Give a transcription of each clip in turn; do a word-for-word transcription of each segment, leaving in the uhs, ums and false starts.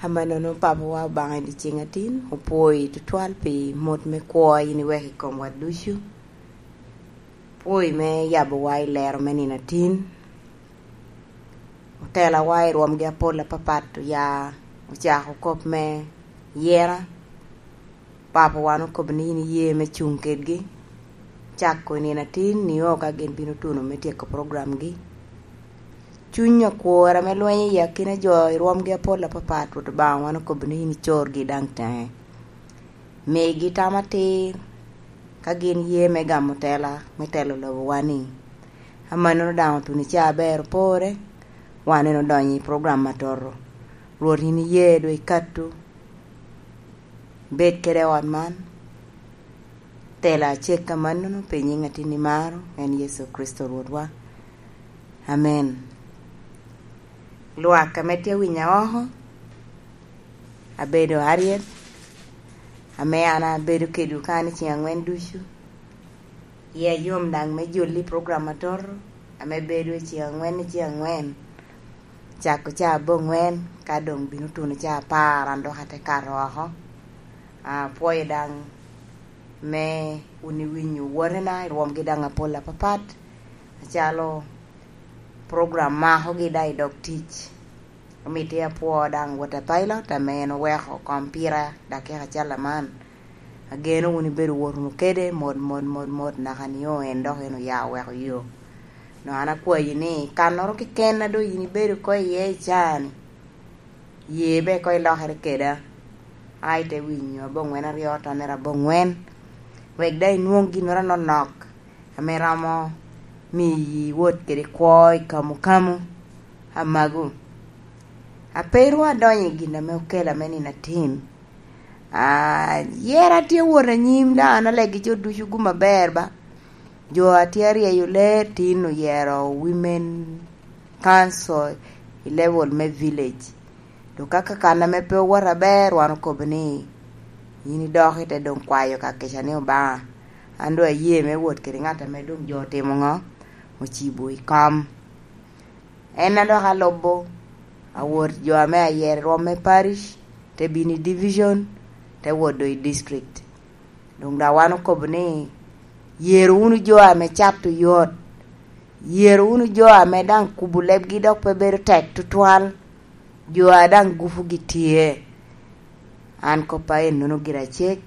Amannono Papawa Obaŋa i dyeceŋ atin, opwoyi tutwal pi mot me kwo a in iweko i komwa ducu. Pwoyi me yabowa i lero me nino atin. Otelawa i rwomgi apol apapat oya ocako kop me yera. Papawa, wan okobo ni in iye me cuŋ kedgi. Cako i nino atin nio ka gin bino tuno me tyeko programgi. Cuny akwor ame lwenyo i akina jo i rwomgi apol apapat, Rwot Obaŋa, wan okobo ni in icorgi daŋ teŋe. Migi tam atir ka gin ye me gamo tela me telo lobowa-ni. Amannono daŋ otuno i caa aber opore, wan en odonyo i program atoto. Rwot, in iye doŋ ikatu, bed kede ot man, tela acek amannono pi nyiŋ atin imaro, en Yecu Kricito Rwotwa. Amen. Lwak ame tye winya oko, abedo Harriet, ame an abedo kedwu kan i ceng aŋwen ducu. Iya yom daŋ me joli i program atoto, ame bedo i ceng aŋwen i ceng aŋwen. Cako caa aboŋwen, ka doŋ bino tuno caa apar, an dok ate kato oko. Apwoyo daŋ me wun iwinyo wotena i rwomgi daŋ apol apapat, acalo program makogi daŋ i dog tic. Omito apwo daŋ Wota Pilot ame en oweko kom pira dakika acel aman. Ageno wun ibedo wot wunu kede mot, mot, mot, mot, naka nio en dok en oya oweko yo. Doŋ an akwayi ni, kannoro keken a doŋ yin ibedo oko iye i caa-ni, ye be koŋ ilokere keda, a ite winyo aboŋwen aryo, tonnere aboŋwen, wek daŋ inwoŋ ginnoro anonok ame romo miyi wot kede kwo i kamukamu. Amagu, a pe ru adonyo i gin ame okela me nino atin, a, yera tye wot anyim, daŋ an alegi jo ducu gum aber ba. Jo a tye aryeyo lee tin oyero Women Council i level me village. Dok ka kakan ame pe owoto aber, wan okobo ni, "In idok ite doŋ kwayo ka kica ni Obaŋa." An doŋ aye me wot kede ŋat ame doŋ jo otimo ŋo? Ocibo i kom. En a dok alubo, awot jo ame ayero i rwom me parish, te bino i division, te wot doŋ i district. Doŋ daŋ wan okobo ni, "Yero wunu jo ame cato yot, yero wunu jo ame daŋ kubo lebgi dok pe bedo tek tutwal, jo a daŋ gupugi tye." An koppa ennono gira cek,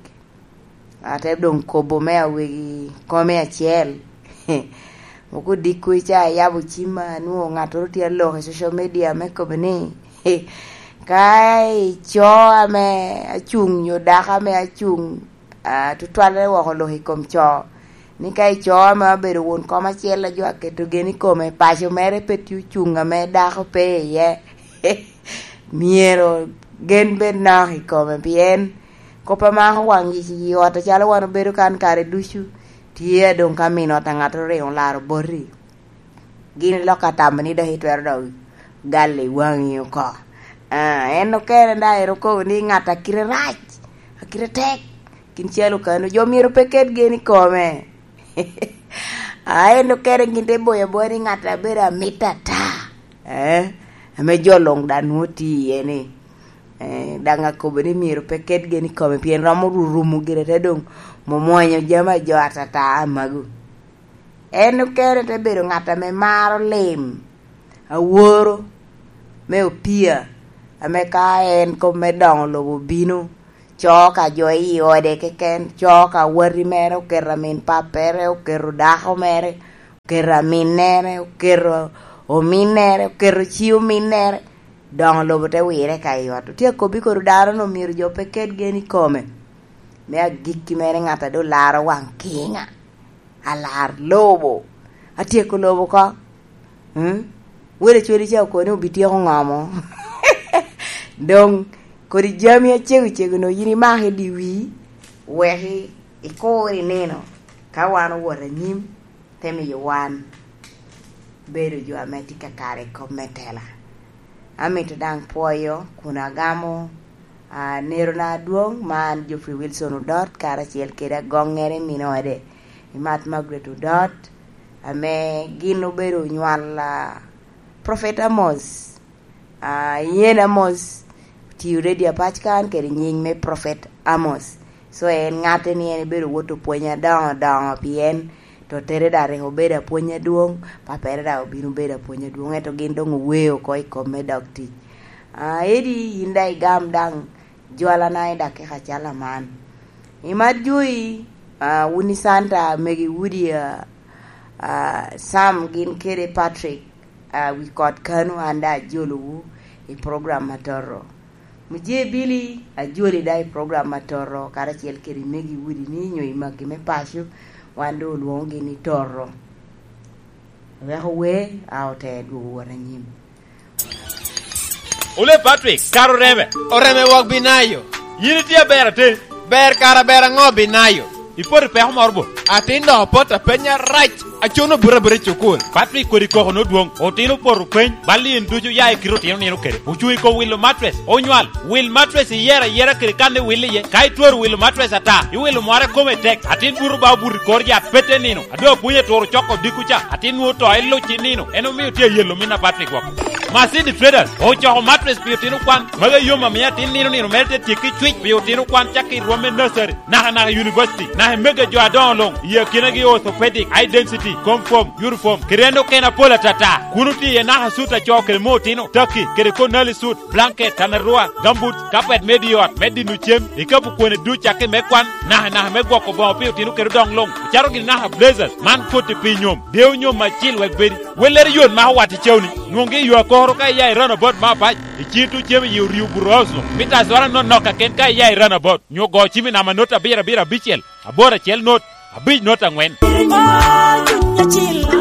ate doŋ kobo me awegi kome acel. Moko odiko ica ayabo cimma, anwoŋo ŋattoro tye aloko i social media me kobo ni, "Ka ico ame acuŋ nyo dako ame acuŋ, a, tutwalle woko lok i kom co, ni ka ico ame abedo won kom acel a jo aketo gen i kome, paco mere pe tye ocuŋ ame dako pe iye." Myero gen bed nok i kome, pien kop a mako waŋ yic i ot acalo wan obedo kan kare ducu, tye a doŋ ka min ot a ŋattoro riŋo laro boti. Gin lok atamo ni dok itwero dok galo i waŋi oko. Ah, en okene daŋ en okobo ni ŋat a kite rac, a kite tek, kin calo kano, jo myero pe ket gen i kome. Ah, en okene gin te boyo aboya ni ŋat a bedo amit ata. Eh, ame jo luŋ daŋ nwoŋo tye iye ni, eh, daŋ akobo ni myero pe ket gen i kome, pien romo ru-, rumo gire te doŋ mwomwonyo jami a jo atata amagu. En okene te bedo ŋat ame maro lim, aworo me opia, ame ka en kop me doŋo lobo obino, co ka jo i ode keken, co ka wati mere, oketo amin pappere, oketo dako mere, oketo aminnere, oketo ominnere, oketo ci ominnere, doŋo lobo te wire ka i ot. Otye akobbi kodi dano-nu myero jo pe ket gen i kome. Me agikki mere, ŋat a doŋ laro waŋ kiŋa, alar lobo, atyeko lobo oko. Mm? Wele cwali ca okoni obityeko ŋomo. Doŋ kodi jami acego cego no yin imako i dye wii, wek i-, ikur i nino. Ka wan owot anyim, te miyo wan bedo jo ame tye ka kare i kop me tela. Amito daŋ pwoyo kun agamo, ah, nerona adwoŋ, man Geoffrey Wilson Odot, karacel kede agoŋŋere min ode, i Mat Margaret Odot, ame gin obedo onywal, ah, Prophet Amos. Ah, yen Amos tiyo redio apac kan kede nying me Prophet Amos. So en ŋatte ni en ebedo wot opwony adoŋo doŋo pien to tere daŋ rik obedo apwony adwoŋ, papere daŋ obino bedo apwony adwoŋ, ento gin doŋ oweo oko i kom me dok tic. Ah, edi yin daŋ igam daŋ jwalana i dakika calo aman. I mat joi, ah, wun i Santa, megi Wudi, ah, ah, Sam gin kede Patrick, ah, wi kot kano an daŋ ajolowu i program atoto. Mujee Billy, ajoli daŋ i program atoto, karacel kede megi Wudi ni nyo i magi me paco, wan doŋ olwoŋogi ni toto. Weko wer, a ote dwogo wot anyim. Ole Patrick, kara oreme. Oreme wok Binayo. Yin itye aber ate? Ber kara ber aŋo Binayo? Ipoto i peko moro bo? Atin dok opoto apenya rac. Acuno buto abuta i cukul. Patrick kodi koko nodwoŋ. Otino opoto peny. Bal in ducu ya i kite otino nino kede. Ocuŋ i kom wilo matres. Onywal. Wil matres iyero ayera kede kan iwil iye. Ka itwero wilo matres ata, iwilo mware kome tek. Atin buto ba obuto i kor yat pete nino. Ado apwony eturo coko dikku ca, atin nwoŋo to eluc i nino, en omio tye ayelo min apat i gwok. Masidi Traders ocoko matres pi otino kwan, magi ayom amio atin nino nino mere te tyekki cwic pi otino kwan cakki i rwom me nursery, naka naka i university, naka i mege jo adoŋo luŋ, i akinagi orthopedic, high density, comfort, uniform, kede en okene apol atata. Kun otye iye naka sut acoo kede me otino, taki, kede konali sut, blanket, tanarua, gambut, kapet me di ot, me dino cem, ikapu kwene duc cakki me kwan, naka naka me gwoko boŋo pi otino kede odoŋ luŋ, ocato gini naka blazers, man koti pi nyom, deo nyom acil wek bedi. Wellere yot mako wat i cewni, nwoŋgi i yo akoro ka iya i runabout me apac, iciŋ tuŋ cem i yi orio buto house-nu, mita acwara nonok kaken ka iya i runabout, nyo go cim i namba not abiro abiro abicel, aboro acel not, abic not aŋwen.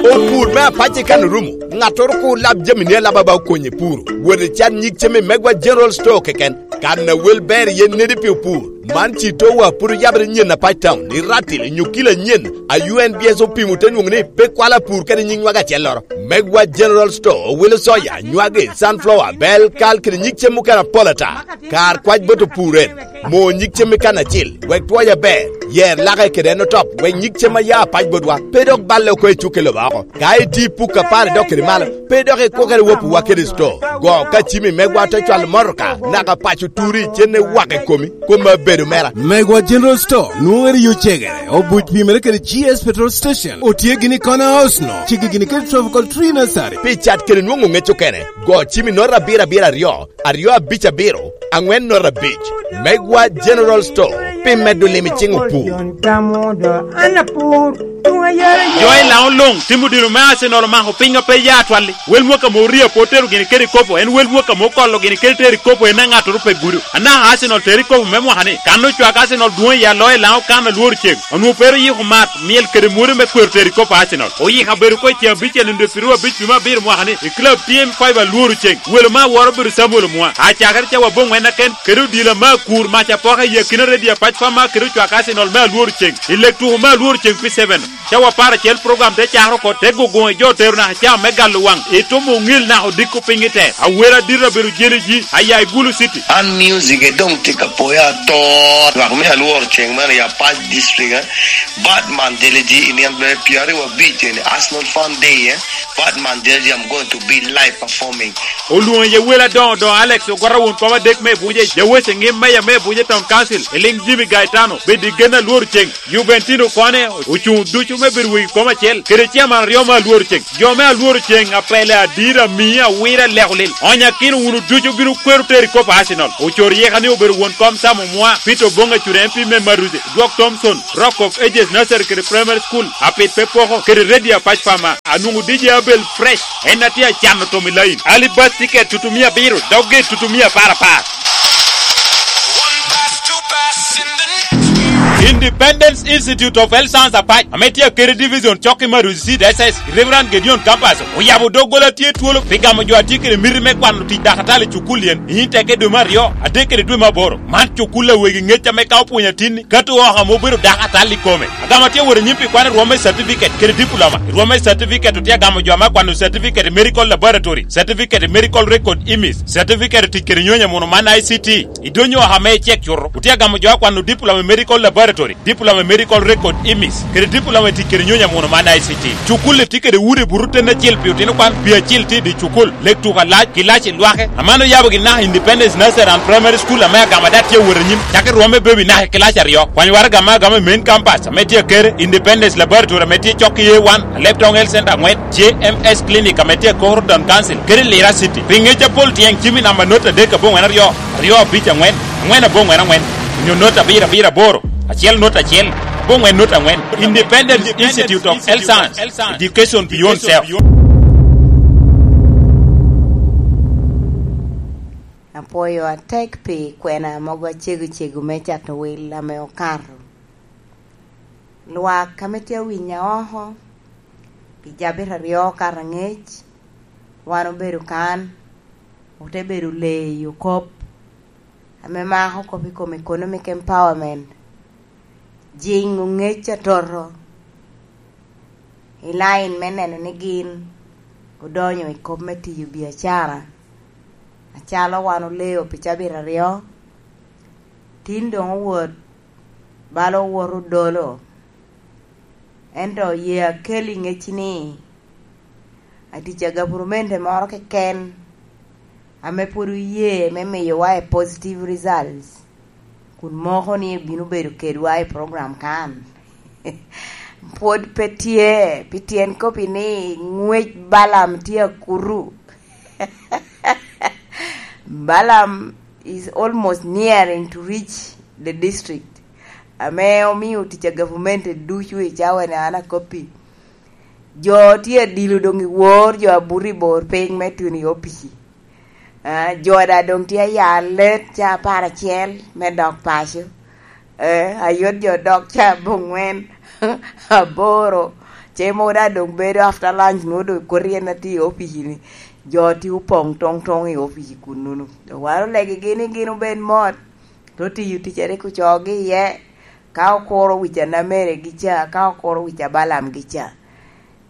Opur me apac i kan orumo, ŋattoro kur lab jamine alaba ba okony i puro. Wot icat nyig cem i Megwa General Store keken, kan a wel ber iye nedi pi opur. Man ci towa pwod oyabere nyen apac town i Ratil i Nyukila nyen, a U N B S opimo te nwoŋo ni pe kwalo apur kede nyiŋ nwaga acelloro. Megwa General Store owilo soya, nywagi, sunflower, bel, kal kede nyig cem mukene apol ata. Kar kwac bot opur en, mo nyig cem i kan acil, wek twoye aber, yer lake kede en otop, wek nyig cem a ya apac botwa pe dok balle oko i cukke lobo oko. Ka iti puk apar idok kede malo, pe dok ikwokere wopiwa kede sto. Go ka cimi megwa te cwalo motoka, naka paco turi, cen iwako i komi, kom abedo mera. Megwa General Store, nwoŋere yo cegere, obuc pimere kede G S Petrol Station, otye gini i corner house no, cigi gini kede Tropical Tree Nursery. Pi cat kede nwoŋo ŋec okene, go cimi nota abiro abiro aryo, aryo abic abiro, aŋwen nota abic. Megwa General Store, pi medo lim i ciŋ opur. Jo i Laŋo luŋ timo dino me Arsenal omako piny a pe ya atwalli. Wel mwaka mo oria pe otero gini kede kopo, en wel mwaka mo okolo gini kede tero i kopo en a ŋattoro pe gudo. Anaka Arsenal tero i kopo me mwaka ni, kan ocwak Arsenal dwoŋ i aloyo i Laŋo kan alworo ceng. Onwoŋo pe ru yiko mat, myel kede mwodo me kwero tero i kopo Arsenal. Oyiko abedo ko i ceng abicel nino dwepiro abic dwe me abiro mwaka ni, i club T M five alworo ceng. Welo me aworo obedo Samuel Omwa. Acakere cawa aboŋwen aken, kede odila me akur mac apoka i akina redio apac pa ma kede ocwak Arsenal me alworo ceng. I lek tuko me alworo ceng pi seven, cawa apar acel program te cakere oko, te guguŋ i jo otero naka caa me galo waŋ. Itomo oŋil naka odiko piny i te. Awera adito abedo jeli ji, aya i Gulu City. An music e doŋ tye ka poya ato. Lwak me alworo ceng man i Apac District, eh. Batman jeli ji i nino me pyeraryo abic eni, Arsenal Fan Day, eh. Batman jeli ji, I'm going to be live performing. Olwoŋo iye wel adoŋo doŋo Alex Ogwata won kom adek me Ebuje, Jawece ŋim meya me Ebuje Town Council, Eliŋ Jimmy Gaetano, bed i gen alworo ceng. Juventino kone ocuŋ ducu me bedo wegi kom acel, kede ciaman aryo me alworo ceng. Jo me alworo ceng apele adira mia awira leko lil. Onyakino wunu ducu bino kwero tero i kop Arsenal. Ocor yeka ni obedo won kom Sam Omwa, Peter Oboŋ Acure M P me Maruze, Dwok Thompson, Rock of Ages Nursery kede Primary School, Apit pe poko, kede Radio Apac Pama. Anwoŋo D J Abel Fresh, en a tye acano tom i lain. Ali bus ticket tutumia abiro, dok gate tutumia apar apar. Independence Institute of Health Science Apac, ame tye akeri division cok i Maruzi Seed S S, Reverend Gedeon Kapaso, oyabo doggola tye twolo pi gamo jo a tye kede miti me kwano tic dakatali i cukul yen, i nyim teke dwe me aryo, adek kede dwe me aboro. Man cukul a wegi ŋec ame ka opwonyo atinni, kato oko ame obedo dakatali i kome. Agamo tye wot anyim pi kwano rwom me certificate kede diploma. I rwom me certificate otye agamo jo ame akwano certificate i medical laboratory, certificate i medical record imis, certificate tic kede nyonyo muno man I C T. I dwonyo oko ame icek cuto, otye agamo jo akwano diploma i medical laboratory. Diploma i Medical Record, imis, kede diploma i tic kede nyonyo amuno man I C T. Cukul-li tye kede udi buto ten acel pi otino kwan, pi acil tye i dye cukul, lek tuko alac, ki lac i lwake. Aman oyabo gin naka Independence Nursery and Primary School ame agama daŋ tye awot anyim, cakki rwomme baby naka i kilac aryo. Kwany waraga ame agama i main campus ame tye akere, Independence Laboratory ame tye cok i A one, Alebtong Health Center angwen, J M S Clinic ame tye i Koro Town Council, kede Lira City. Pi ngec apol tyeng cim i namba not adek aboŋwen aryo, aryo abic aŋwen, aŋwen aboŋwen aŋwen, onyo not abiro abiro aboro, acel not acel, aboŋwen not aŋwen. Independence Institute of Health Science, Education Beyond Self. Apwoyo atek pi kwena mogo acego cego me cato wil ame okato. Lwak ame tye awinya oko, pi cabit aryo okato angec, wan obedo kan, ote bedo leyo kop ame mako kop i kom economic empowerment, jingo ngec atoto i lain me neno ni gin odonyo i kop me tiyo biacara, acalo wan oleo pi cabit aryo, tin doŋ owot bala owoto odolo. Ento ye akel i ŋecci ni, atic a gavurumenti moro keken ame pwod oye me miyowa i positive results, kun moko ni ebino bedo kedwa i program kan. Pwod pe tye, pi tyen kop-pi ni ŋwec Balaam tye akutu. Balaam is almost nearing to reach the district, ame omio tic a gavumenti ducu i cawa-ni an akoppi. Jo tye adilo doŋ i wor, jo abuto i bor piny me tuno i opici. Ah, jo daŋ doŋ tye aya let ca apar acel me dok paco. Eh, ayot jo dok ca abongwen, aboro. Ce mogo daŋ doŋ bedo after lunch, nwoŋo doŋ koti en atye i opici-ni. Jo tye opoŋ toŋ toŋ i opici kunnu-nu. Wan olegigi ni gin obed mot, te tiyo tic a rik ocoogi iye, ka okuro wic a Namere gi ca, ka okuro wic a Balaam gi ca.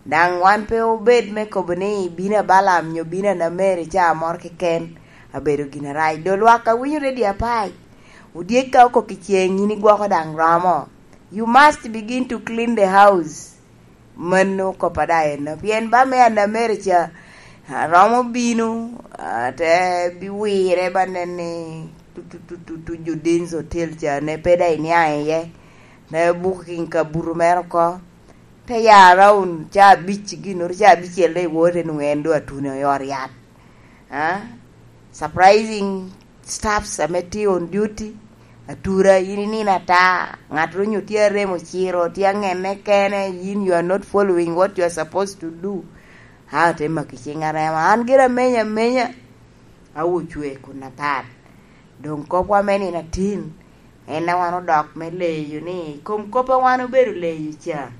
Daŋ wan pe obed me kobo ni bino a Balaam nyo bino a Namere ca moro keken, abedo gin arac. Doŋ lwak a winyo redio apac, odyek ka okok i ceŋ, yin igwoko daŋ romo. You must begin to clean the house. Mano kop a daŋ enno. Pien ba me a Namere ca, a, romo bino, a, te biwire ba nen ni tu, tu, tu, tu, tu, Judin's Hotel ca ne pe daŋ iniaŋ iye. Ne booking kabuto mere oko. Te ya around ca abic, ginnoro ca abicel daŋ iwote nwoŋo en doŋ atuno i ot yat. Ah? Surprising staffs ame tye on duty, atura, yin inino ata, ŋat ro nyo tye aremo ciro, tye aŋenne kene, yin you are not following what you are supposed to do. A, te maki ciŋ arema. An gire amenya amenya, a ocwe kun apat. Doŋ kopwa me nino atin, en a wan odok me leyo ni, i kom kop a wan obedo leyo ca,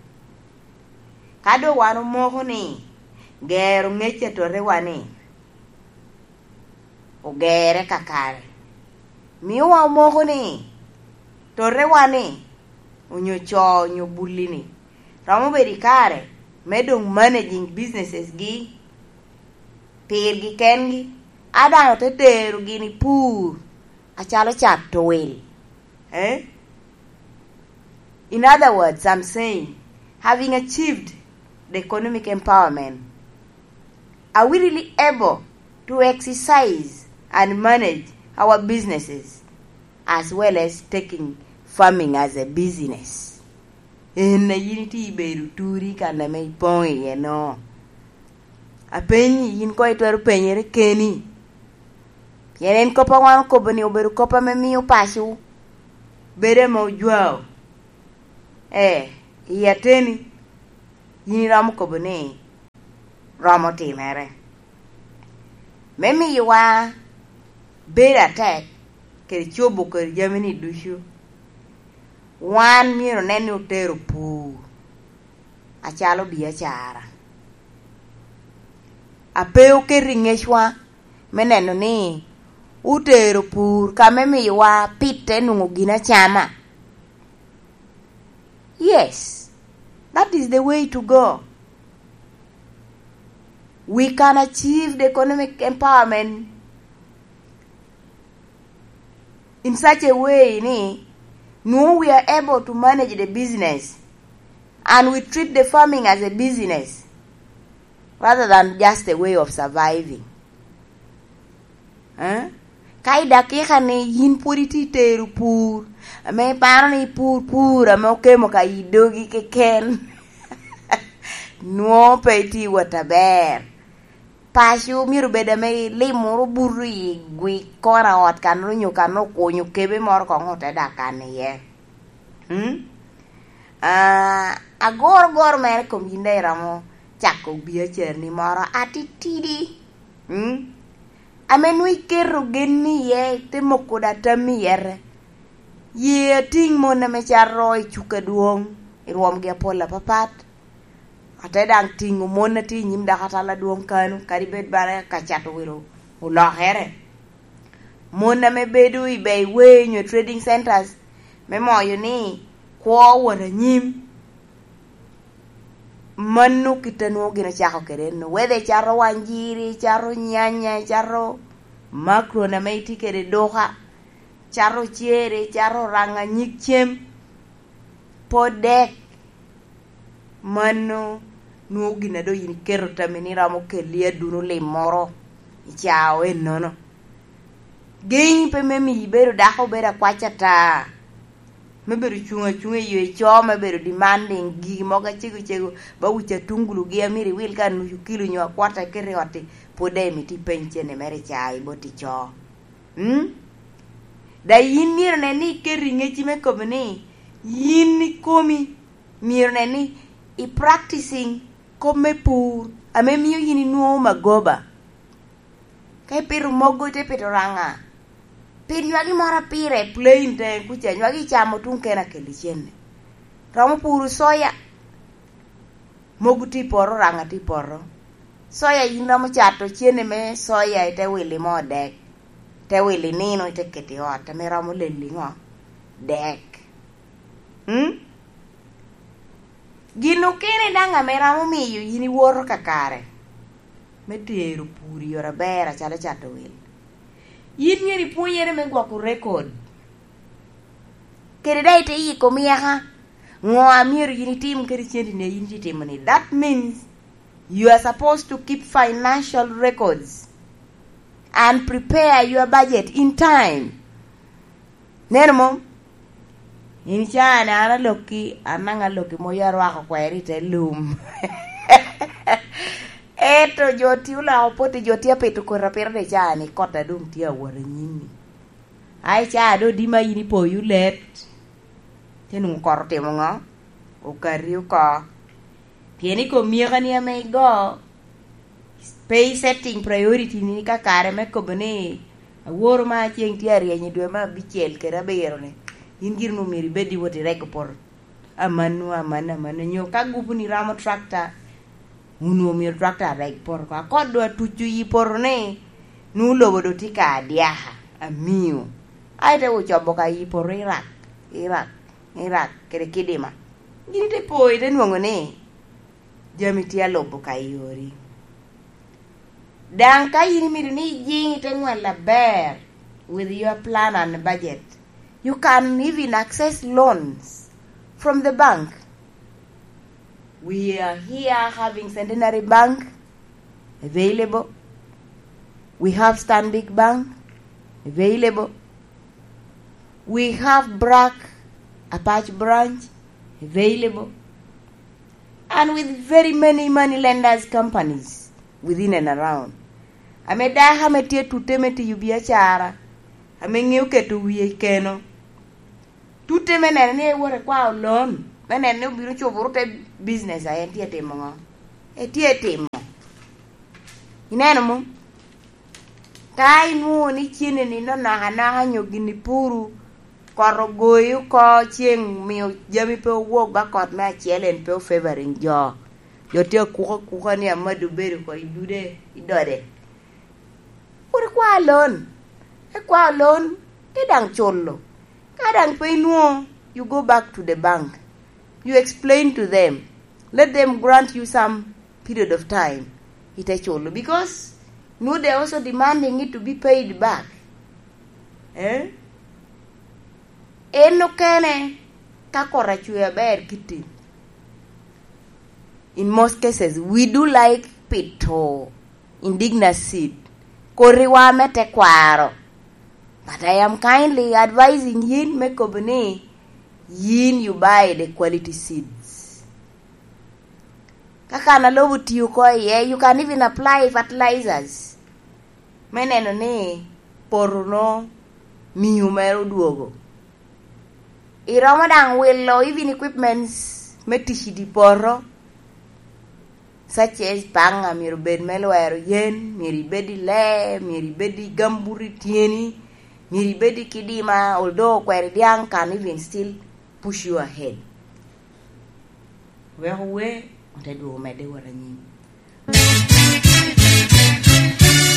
ka doŋ wan omoko ni gero ŋec a totewa-ni, ogerre kakare. Miowa omoko ni totewa-ni onyo co onyo bulli-ni romo bedo i kare me doŋ managing businesses-gi pirgi kengi, a daŋ ote terogi ni pur acalo cato wil. Eh? In other words, I'm saying, having achieved the economic empowerment, are we really able to exercise and manage our businesses as well as taking farming as a business? En a yin itye ibedo turi kan ame ipoŋ iye no. Apenyi, yin koŋ itwero penyere keni. Pien en kop a wan okobo-ni obedo kop ame mio paco bedo ame ojwao. Ee, i ateni, yin iromo kobo ni romo timere. Me miyowa bedo atek kede cobo kede jami-ni ducu, wan myero onen ni otero pur acalo biacara. A pe oketo i ŋecwa me neno ni otero pur ka me miyowa pite nwoŋo gin acama. Yes, that is the way to go. We can achieve the economic empowerment in such a way ni Nwoŋo we are able to manage the business and we treat the farming as a business rather than just a way of surviving. Eh? Ka i dakika ni yin pwod itye tero pur, ame iparo ni ipur pur ame okemo ka i dogi keken, nwoŋo pe itye wot aber. Paco myero obed ame ilimoro buto i gwi kona ot kan onyo kan okunyo kebe moro koŋ ote dak kan iye. Mm? Ah, agoro goro mere kom yin daŋ iromo cako biacarani moro atitidi. Mm? Ame nwoŋo iketo gen ni iye, ite moko da tammi yete. Ye atiŋ mon ame cato i cuk adwoŋ, i rwomgi apol apapat. Ate daŋ tiŋo mon a tye i nyim dako atal adwoŋ kano, kadi bed bala ka cato wilo olokere. Mon ame bedo i bei wei nyo trading centers, me moyo ni kwo wot anyim. Mano kit a nwoŋo gin ocako kede eno. Whether icato wanjiri, icato nyanya, icato makron ame itye kede i duka, icato ocere, icato ranga nyig cem, pod dek. Mano nwoŋo gin a doŋ yin iketo tammi ni romo kelli aduno lim moro i caa ennono. Geny pe me miyo ibedo dako obedo akwac ata, me bedo cuŋ acuŋa i yo ico, me bedo demanding gigi mogo acego cego, ba wic atungulugi a myero iwil ka nucu kilo nyo akwata iketo i ot-ti, pwod daŋ imito ipeny cene mere i caa i bot ico. Mm? Da yin myero nen ni iketo i ŋecci me kobo ni yin ikomi myero nen ni i practicing kop me pur ame mio yin inwoŋo magoba. Ka ipito mogo, ite pito ranga, pit nywagi moro pire plain te kuca, nywagi icamo tuŋ kene akelli cene. Romo puro soya, mogo tye i poto, ranga tye i poto. Soya yin romo cato cene me soya, ite wili moo dek, ite wili nino, ite keto i ot ame romo lelli ŋo? Dek. Mm? Gin okene daŋ ame romo miyo yin iwoto kakare me tero pur i yore aber acalo cato wil. Yin myero ipwonyere me gwoko rekod. Kede daŋ ite yiko myaka. Ŋo a myero yin itim kede centi ni a yin itye timo ni? That means you are supposed to keep financial records and prepare your budget in time. Neno mom? In caa ni an alokki, an naŋ alokki moyo arwako kweri i te lum. Ento jo ti oloko poti, jo ti apito koti apita de caa ni kot a doŋ tye awot anyimi. Ai caa do dima yin ipoyo let. Te nwoŋo kot otimo ŋo? Okati oko. Pien i kom myekani ame igo, pe i setting priority ni ka kare me kobo ni aworo ma ceŋ tye aryeny i dwe me abicel kede abiro ni, in giri nu myero ibed iwot irego poto. Amanu, amanu, amanu. Nyo ka gupu ni ramo tractor, onwoŋo myero tractor areg poto oko. Akot do atuco yi poto ni, nu lobo do tye ka adyaka, amio. Ai te wo cobo ka yi poto irak, irak, irak, kede kidima. Gin ite po, ite nwoŋo ni, jami tye alubo ka i ori. Daŋ ka yin imito ni ijiŋ ite ŋwal aber with your plan and budget, you can even access loans from the bank. We are here having Centenary Bank available. We have Stanbic Bank available. We have BRAC Apac branch available. And with very many money lenders companies within and around. Ame dako ame tye tute me tiyo biacara, ame ŋeo keto wie i keno, tute me neno ni ewoto ekwao loan, me neno ni obino cuboro te business a en tye timo ŋo? Etye timo. Ineno mo? Ka inwoŋo ni cene ni nonok anoka nyo gin ipuru, kot ogoyi oko, ceŋ omio jami pe owok ba kot me acel en pe ofavoring jo. Jo tye akuka akuka ni amado bedo oko i dude, i dode. Kur ikwao loan. Ikwao loan, te daŋ culo. Ka daŋ pe inwoŋo, you go back to the bank. You explain to them. Let them grant you some period of time. Ite culo. Because, you know, they are also demanding it to be paid back. Eh? En okene, ka kot acwe aber kitim. In most cases, we do like pito indigenous seed. Kotiwa me tekwaro. But I am kindly advising yin me kobo ni yin you buy the quality seeds. Ka kan a lobo tio oko iye, you can even apply fertilizers. Me neno ni poto no miu mere odwogo. Iromo daŋ wilo even equipments me tic i dye poto, such as panga myero obed me lwero yen, myero ibed i lee, myero ibed i gambut i tyeni, myero ibed i kidima, although kweri dyaŋ can even still push you ahead. Wek owe, ote dwogo medde wot anyim.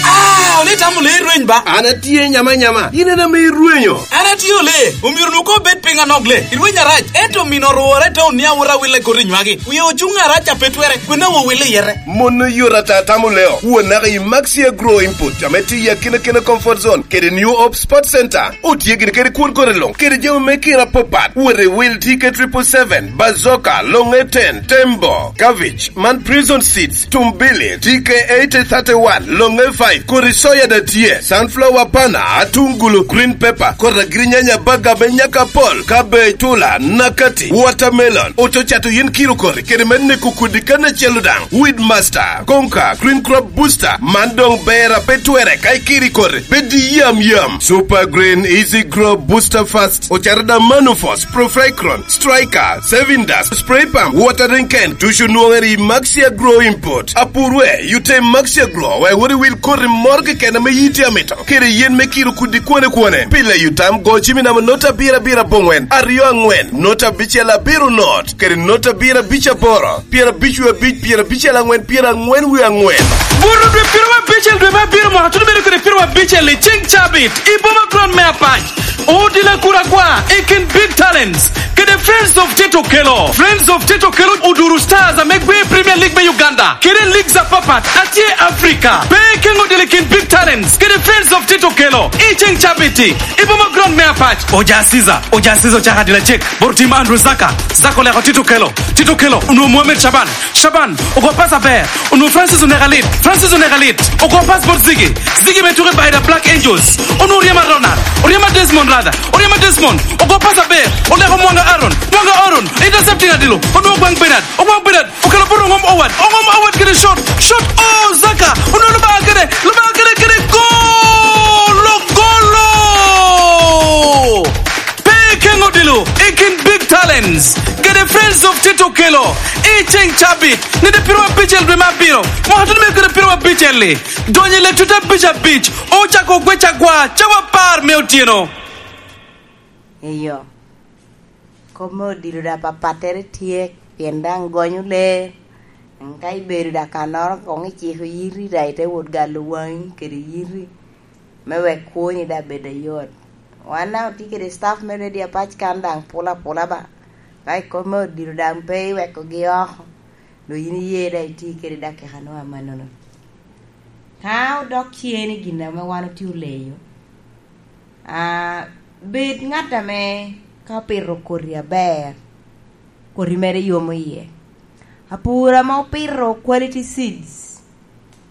Ah, ole tamo le rweny ba. An atye nyama nyama, in en ame irwenyo. An atye ole, omyero nu ko bet piny anok le. Irweny arac, ento mino orwore te onia wot awille koti nywagi. Wie ocuŋ arac a pe twere, kwena wo wille yete. Mon oyot ata tamo leo, wo naka i Maxi Agro Input, ame tye i akina kina comfort zone, kede New Hope Sports Center. Otye gini kede kwon kore luŋ, kede jami me kira apapat. Wot i wil T K triple seven, Bazooka, Longe ten, Tembo, Cabbage, man Prison Seeds, Tumbili, T K eighty thirty-one, Longe five, kodi soya da tye, sunflower pana, atungulu, green pepper, kodi agirinyanya baga me nyaka pol, cabbage, tula, nakati, watermelon, ococato yin kiro kori, kede me neko kudi kan acel daŋ, Weed Master, Conquer, Green Crop Booster, man doŋ ber a pe twere ka ikiri kori, bed yam yam. Super Green Easy Grow Booster Fast, ocaro da Manufos, Profricron, Striker, Saving Dust, Spray Pump, Watering Can, tucu nwoŋere i Maxi Agro Import. Apur we, yute Maxi Agro, wek wot i wil koti moro keken ame yiti amito. Kede yen me kiro kudi kwane kwane. Pile yutam go cimi namo nota abiro abiro abongwen, aryo angwen, nota abicel abiro not, kede nota abiro abic aboro. Pyerabic wie abic, pyerabicel angwen, pyerangwen wie angwen. Buto dwe piero abicel dwe me abiro mwaka tuno bedo kede piero abicel i ceng cabit i boma Kron me Apac. Odila kura kwa i kin Big Talents kede Friends of Tito Kelo. Friends of Tito Kelo oduro stars ame gwe i Premier League me Uganda kede leagues apapat atye Africa. Pe ikeŋ odila i kin Big Talents kede Friends of Tito Kelo i ceng cabit i boma Kron me Apac. Oja Caesar, Oja Caesar ocako adila cek. Boro tim Andrew Zaka, Zaka oleko Tito Kelo. Tito Kelo, onwoŋo Mohamed Shaban. Shaban, ogo pas aber. Onwoŋo Francis oneko alit. Francis oneko alit. Ogo pas bot Ziggy. Ziggy me tuko i Baida Black Angels. Onwoŋo oryemo Ronald. Oryemo Desmond rather. Oryemo Desmond. Ogo pas aber. Oleko Mwanga Aaron. Mwanga Aaron. Intercepting adilo. Onwoŋo Ogwaŋ Bernard. Ogwaŋ Bernard. Okelo bot Oŋom Owad. Oŋom Owad kede shot. Shot. Oh, Zaka. Onwoŋo Lubanga kede. Lubanga kede, kede gol. Ogolo. Pe ikeŋ odilo i kin Big Talents kede Friends of Tito Kelo i ceŋ cabit, nino piero abicel dwe me abiro, mwaka tuno me kede piero abicel-li, donyo i letuta abic abic, ocako ogwec agwa cawa apar me otyeno. Eyo, kop me odilo da papattere tye, pien daŋ gonyo lee. Ka ibedo da kannoro, koŋ iciko yiti da, ite wot galo waŋi kede yiti, me wek kwoni da bed ayot. Wan daŋ otye kede staff me Radio Apac kan daŋ pula pula ba. Ka ikop me odilo daŋ pe iwekogi oko, dong yin iye da itye kede dakika nwa amannono. Ka odok cer ni gin ame wan otye oleyo, ah, bed ŋat ame ka opito koti aber, koti mere yomo iye. Apur ame opito quality seeds,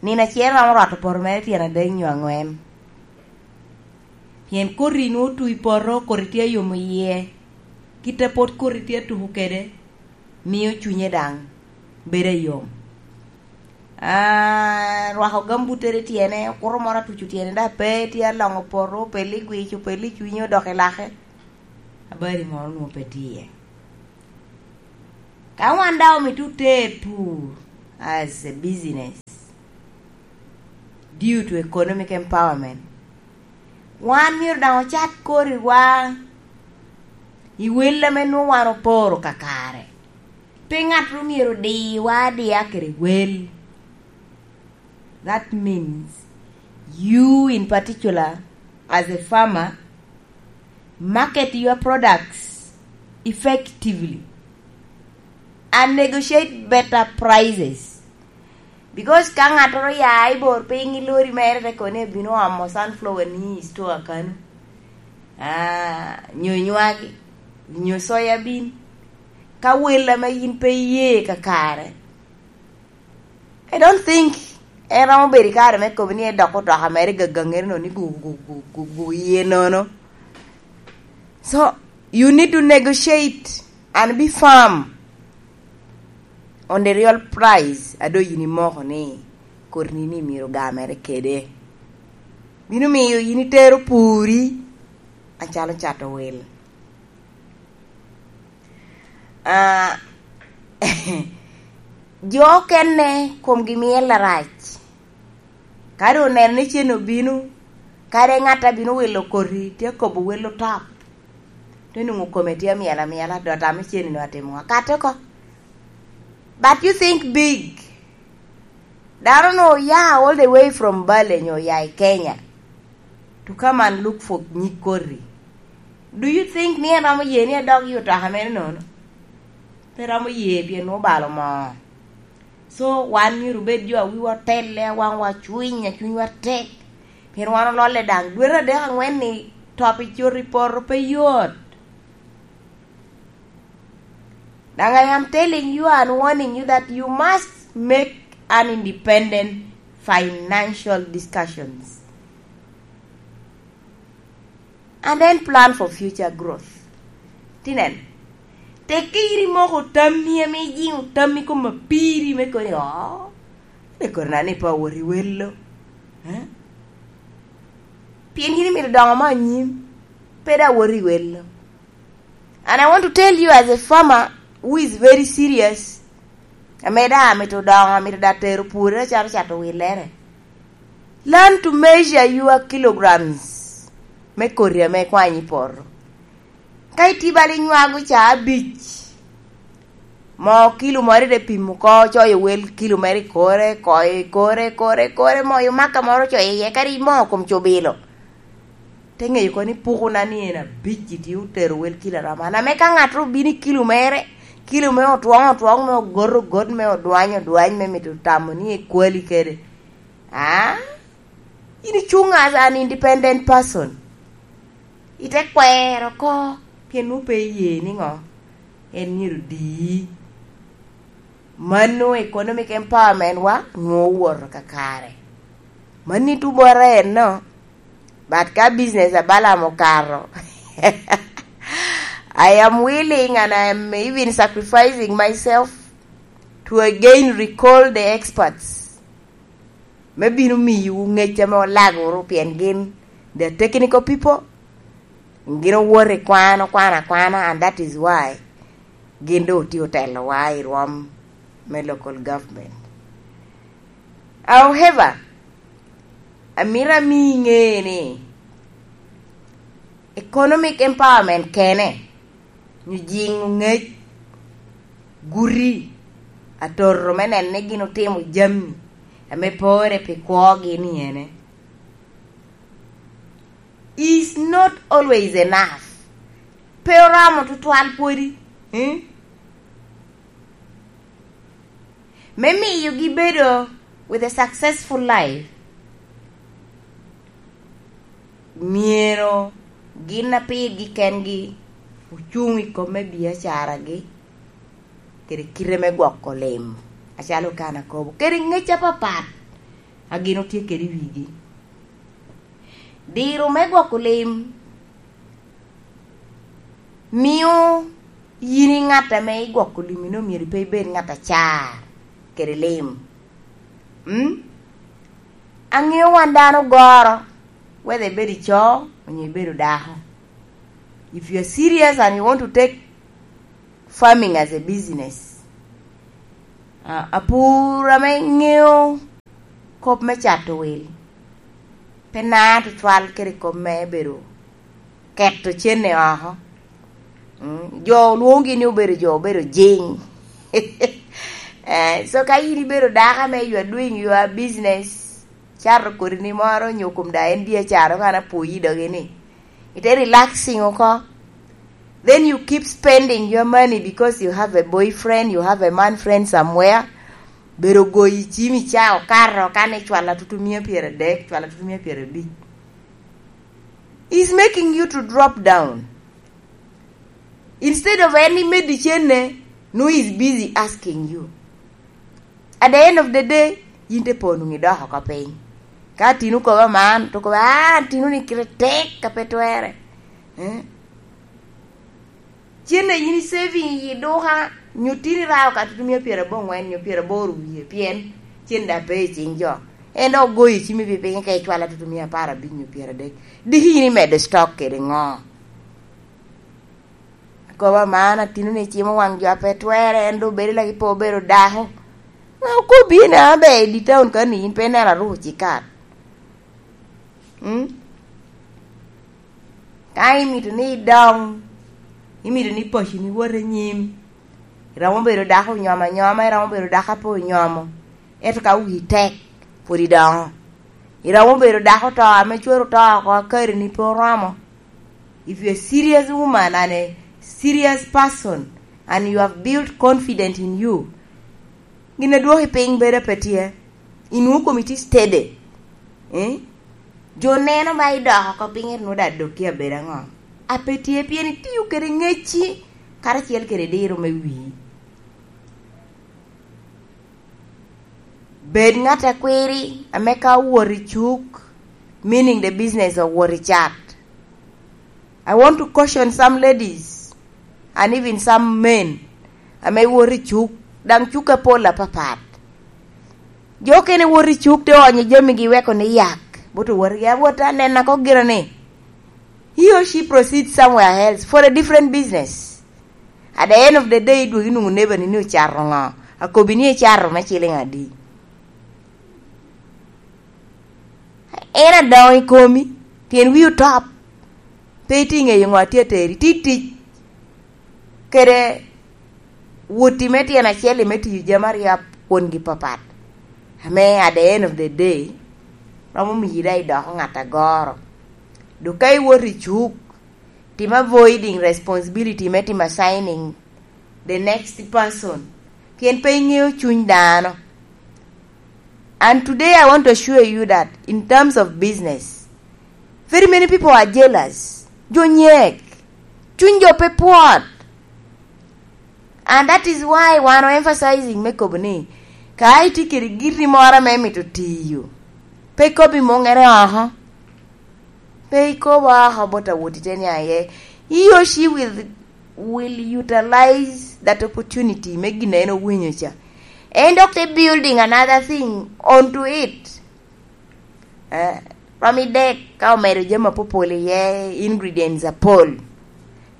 nino acel romo rwato poto mere tyen adek nyo aŋwen. Pien koti nwoŋo otu i poto, koti tye ayomo iye. Kit a pot koti tye atuko kede, mio cunye daŋ bedo ayom. Ah, rwako gambuttere tyene, okuto moro atuco tyene, da pe tye aloŋo poto, opello i gwic, opello i cunye, odok i lake. Abari moro nwoŋo pe tye iye. Ka wan daŋ omito ter pur as a business, due to economic empowerment, wan myero daŋ ocat koriwa i wel ame nwoŋo wan oporo kakare. Pe ŋat ru myero diwa adiya kede wel. That means you in particular, as a farmer, market your products effectively and negotiate better prices. Because ka ŋattoro ya i bor piny i lori mere te koni ebino omo sunflower ni i store kano, Ah, nyo nywagi, nyo soya bean, ka wel ame yin pe iye kakare. I don't think en romo bedo i kare me kobo ni edok otoka mere gagaŋere no ni gu, gu, gu, gu, gu iye nono. So, you need to negotiate and be firm on the real price a doŋ yin imoko ni koti ni myero gamere kede. Bino miyo yin itero puri acalo cato wil. Ah, jo okene komgi miel arac. Ka doŋ oneno ni cen obino, kadi ŋat a bino wilo koti tye kobo wel otop, te nwoŋo kome tye amyel amyela, dot ame cen-ni atimo ŋa? Kate oko. But you think big. Dano no oya all the way from Bale nyo oya i Kenya to come and look for nyig koti. Do you think ni en romo ye ni edok i otoka mere nono? Pe romo ye, pien obalo moo. So, wan myero obed jo a wiwa otelle, a waŋwa cwiny, a cunywa tek. Pien wan ololle daŋ dwete adek aŋwen ni top i cot i poto pe yot. Daŋ I am telling you and warning you that you must make an independent financial discussions and then plan for future growth. Tinen, tekke yin imoko tammi ame ijiŋo tammi kom apiri me koni, "Oh, ane kodi na ni pe awot i welo." Eh? Pien yin imito doŋo mo anyim, pe daŋ awot i welo. And I want to tell you, as a farmer who is very serious, ame daŋ amito doŋo, amito daŋ tero pwode acalo cato willere. Learn to measure your kilograms me koti ame ikwanyo i poto. Ka itye bala inywago ca abic, moo kilo moro ite pimo oko, coyo wel kilo mere i kore, koyo i kore, kore, kore, moyo maka moro coyo iye, kadi moo kom cubilo. Te ŋeyo kono ni pukona ni en abic itye otero wel kilo aromo. An ame ka ŋat obino i kilo mere, kilo me otwoŋ otwoŋ, me ogot ogot, me odwany odwany, me mito tamo ni ekwali kede. Ah? In icuŋ as an independent person. Ite kwero oko, pien nwoŋo pe iye niŋo? En myero odii. Mano economic empowerment wa nwoŋo owoto kakare. Mano itubote enno. But ka business a Balaam okato, I am willing and I am even sacrificing myself to again recall the experts me bino miyowu ŋec ame olagoro, pien gin the technical people, gin owoto i kwan, okwano akwana, and that is why gin doŋ otye otelowa i rwom me local government. However, amito ami iŋe ni economic empowerment kene, nyo jiŋo ŋec, guti, atoro me neno ni gin otimo jami ame pore pi kwogi ni ene, is not always enough. Pe oromo tutwal pwodi. Hmm? Me miyogi bedo with a successful life, myero gin a pirgi kengi ocuŋ i kom me biacaragi kede kite me gwoko lim, acalo kan akobo, kede ŋec apapat a gin otye kede i wigi. Diro me gwoko lim mio yin i ŋat ame igwoko lim-mi, nwoŋo myero pe ibed ŋat acar kede lim. Mm? Aŋeo wan dano goro, whether ibedo ico onyo ibedo dako. If you are serious and you want to take farming as a business, ah, apur ame ŋeo kop me cato wil, pe na tutwal kede kop me bedo keto cene oko. Mm, jo olwoŋogi ni obedo jo obedo jing. Eh, so ka in ibedo dako ame you are doing your business, cato kodi ni moro nyo kom da en biacara oko, an apwoyi dogi ni, ite relaxing oko. Then you keep spending your money because you have a boyfriend, you have a man friend somewhere. Bedo goyi cim i ca okato, ka ni cwala tutu mia pyeradek, cwala tutu mia pyerabic. He's making you to drop down. Instead of en imeddi cenne, no, he's busy asking you. At the end of the day, yin te po nwoŋo idok oko piny. Ka atino kobo man, to kobo, "Ah, atino ni kite tek a pe twerre." Eh? Cenne yin i saving i duka, nyo tin irao ka tutumia pyerabongwen nyo pyeraboro wie, pien cen daŋ pe i cing jo. En dok ogoyo cimi pi piny ka icwalo tutumia apar abic nyo pyeradek. Diki yin imedo stock kede ŋo? Akobo man, atino ni cimo waŋ jo a pe twerre, en doŋ bedo laki pe obedo dako. Ŋa okobbi ni, "An ber i di taun ka ni yin pe ineno aruko cikat?" Mm? Ka imito ni idoŋ, imito ni paconi wot i nyim, iromo bedo dako onyomo anyoma, iromo bedo dako a pe onyomo, ento ka wii tek, pwod idoŋo. Iromo bedo dako oto ame cwero oto oko, akarini pe oromo. If you're a serious woman and a serious person, and you have built confidence in you, gin a dwoki piny bedo pe tye, inwoŋo komi tye steady. Eh? Jo neno ba idoko oko piny, ento nwoŋo daŋ dok tye abedo aŋo? A pe tye, pien itiyo kede ŋecci karacel kede diro me wii. Bed ŋat a kwiri, ame ka owot i cuk, meaning the business owot i cat. I want to caution some ladies and even some men ame wot i cuk, daŋ cuk apol apapat. Jo okene wot i cuk te onyo jamigi, weko ni yak, bot owotgi awota, nena ko gira ni he or she proceeds somewhere else for a different business. At the end of the day, idwogo inwoŋo nebani ni ocato ŋo, akobi ni icato me ciliŋ adi. En adoŋo i komi, pien wii otop, pe itye ŋeyo ŋo a tye ateri, tye tic kede woti me tyen acel-li me tiyo jami aryo kwongi papat, ame at the end of the day, romo miyi daŋ idoko ŋat agoro. Dok ka iwot i cuk, tim avoiding responsibility me timo assigning the next person, pien pe iŋeo cuny dano. And today I want to assure you that in terms of business, very many people are jealous. Jo nyek, cuny jo pe pwot. And that is why wan o emphasizing me kobo ni, ka itye kede giri moro ame imito tiyo, pe ikobi muŋere oko. Pe ikobo oko bot awot ite ni aye. He or she will, will utilize that opportunity me gin en owinyo ca. En dok te building another thing onto it. Eh, romo idek ka omedo jami apopol iye, ingredients apol.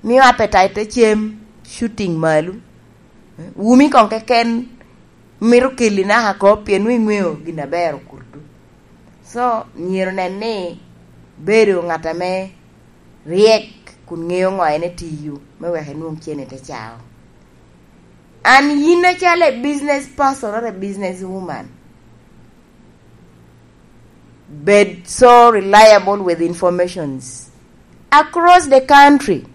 Mio appetite te cem shooting malo. Eh, wumi kong keken mito kelli naka kop, pien nwoŋo iŋeo gin aber okuto. So, myero nen ni bedo ŋat ame ryek kun ŋeo ŋo en etiyo me wek enwoŋ cene te cao. And yin acalo a business person or a business woman, bed so reliable with informations across the country.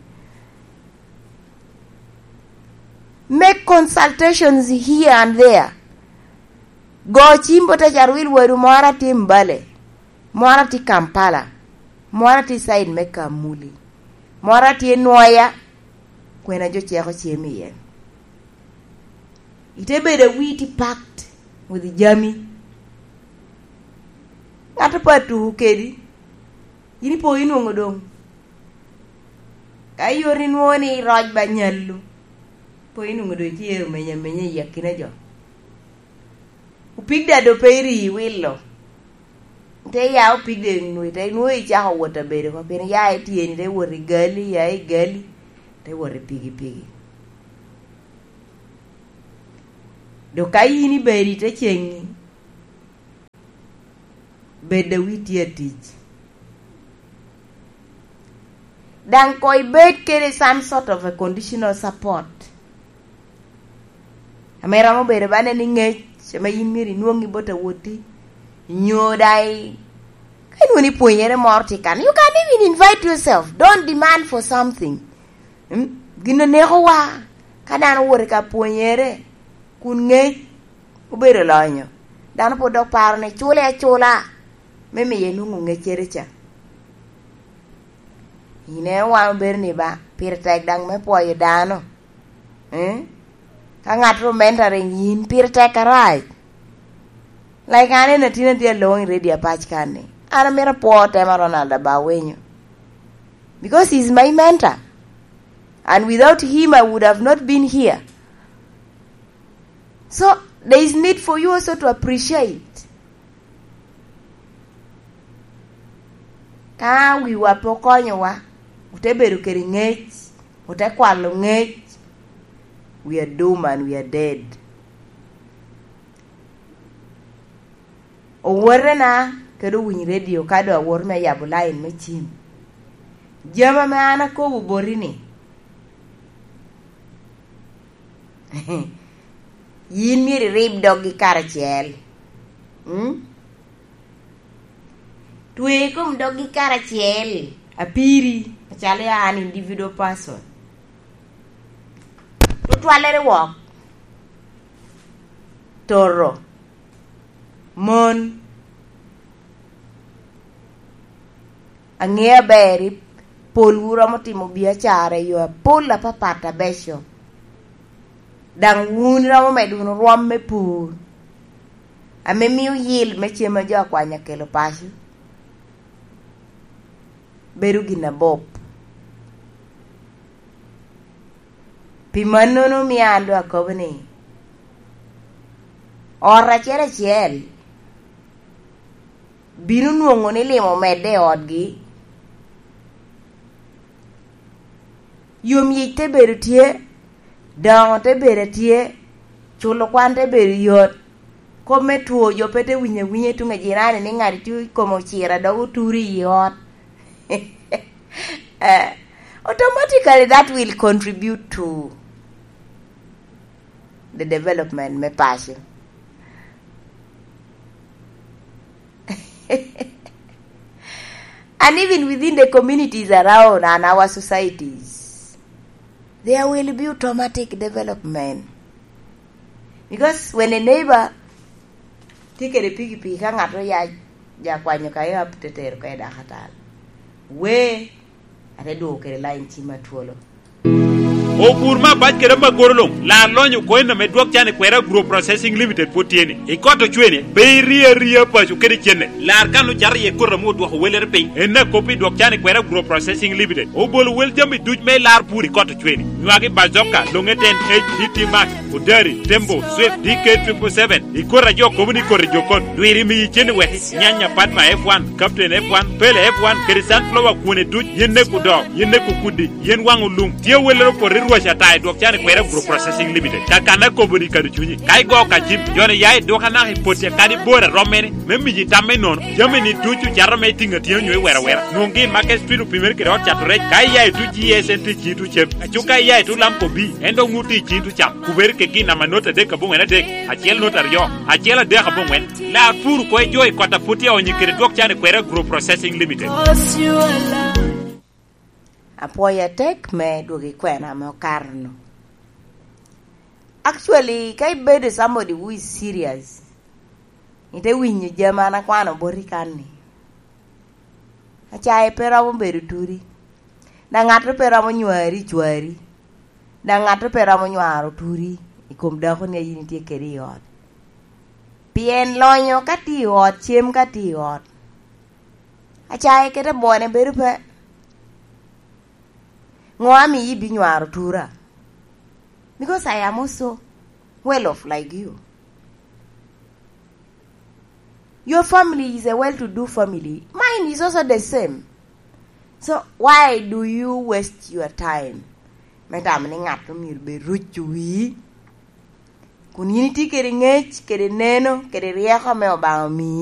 Make consultations here and there. Go cim bot acar wil wadu moro atye Mbale, moro atye Kampala, moro atye side me Kamuli, moro atye Nwoya, kwena jo ceko cem iye. Ite bedo a wii tye packed with jami. Ŋat pe atuko kedi, yin ipo inwoŋo doŋ. Ka yot inwoŋo ni roc ba nyallo, po inwoŋo doŋ itye omenya menya i akina jo. Opig daŋ doŋ pe iri iwilo. Te ya opig daŋ nwoŋo ite, nwoŋo icako wot abedo oko, pien ya ityeni, te wot i gali, ya i gali, te wot i pigi pigi. Dok ka yin ibedo ite ceŋi, bed a wii tye atic. Daŋ koŋ ibed kede some sort of a conditional support. Ame romo bedo ba nen i ŋec, ame yin myero inwoŋi bot awoti, nyo daŋ i-, ka inwoŋo ni pwonyere moro tye kan, you can even invite yourself. Don't demand for something. Mm? Gin onekowa, ka dano owoto i ka pwonyere, kun ŋec obedo lonyo, dano pwod dok paro ni cule acula me miye nwoŋo ŋeccere ca. Ineno wan obedo ni ba, pire tek daŋ me pwoyo dano. Eh? Ka ŋat ru mentoring yin, pire tek arac. Like, an en atin atye along i redio apac kan ni, an amito apwo Tema Ronald Aba Awenyo, because he's my mentor. And without him, I would have not been here. So, there is need for you also to appreciate. Ka wiwa pe okonyowa, ote bedo kede ŋec, ote kwalo ŋec, we are doomed and we are dead. Owotena kede owiny redio ka doŋ awot me yabo lain me cim. Jami ame an akobo boti-ni, yin myero irib doggi karacel. Mm? Twe i kom doggi karacel, apiri, acalo ya an individual person. Tutwallere wok. Toro. Mon. Aŋeo aber, polwu romo timo biacara i yo apol apapat abeco. Daŋ wun iromo medo wunu rwom me pur, ame mio yil me cem a jo akwanya kelo paco bedo gin abup. Pi mannono, mio an doŋ akobo ni, ot acel acel bino nwoŋo ni lim omedde i otgi. Yom yic te bedo tye, doŋo te bedo tye, culo kwan te bedo yot. Kop me two jo pe te winyo awinya i tuŋ a jirani ni ŋat tye i kome ociro a dok oturo i ot. Eh, automatically that will contribute to the development me paco. And even within the communities around and our societies, there will be automatic development. Because when a neighbor tye kede pikipiki, ka ŋat oya ja kwanyo ka yap te tero ka i dakatal, we ate dwogo kede lain cim atwolo. Opur me abac kede amagoro luŋ, lar lonyo coin ame dwok can i kwera Agro Processing Limited pwod tye ni. I kot ocwene, pe iri aria paco kede cenne. Lar kan ocato iye koti ame odwoko wellere piny. En akop i dwok can i kwera Agro Processing Limited. Obolo wel jami duc me lar pur i kot ocwene. Nywagi bazoka, loŋe ten H D T Max, Odari, Tembo, Swift, D K triple seven. I koti a jo kobo ni koti jokon. Dwiri miyi cen i weki. Nyanya Padma F one, Captain F one, Pele F one, kede Sunflower kwone duc, yen neko doo, yen neko kudi, yen waŋ olum. Tye welere opoto i rwac ata i dwok can i kwera Agro Processing Limited. Kakan akobo ni kado cunyi. Ka igo ka cim, joni ya i duka naka i poti akadi bor a rommene, me miyi tam me nono. Jami ni ducu cato me tiŋ atyeno nyo i wera wera. Nwoŋgi i Market Street opimere kede ot cato rec. Ka iya i tuc G S N T ciŋ tuc cem. Aco ka iya i tuc Lamco B, en dok nwoŋo tye i ciŋ tuc cam. Kubere kegi i namba not adek aboŋwen adek, acel not aryo, acel adek aboŋwen. Lar pur oko i jo i kot a pwod tye aonyo kede dwok can i kwera Agro Processing Limited. Apwoyo atek me dwogo i kwena ame okato-nu. Actually, ka ibedo somebody who is serious, ite winyo jami an akwano boti kan-ni. Acaye pe romo bedo turi, daŋ ŋat pe romo nywari i cwari, daŋ ŋat pe romo nywaro turi i kom dakoni a yin itye kede i ot. Pien lonyo ka tye i ot, cem ka tye i ot, acaye kede bwone bedo pe. Ŋo amiyo ibinywaro tura? Because I am also well off like you. Your family is a well-to-do family. Mine is also the same. So why do you waste your time? Me tamo ni ŋat omyero bed ruco wii, kun yin itye kede ŋec, kede neno, kede ryeko ame Obaŋa omii.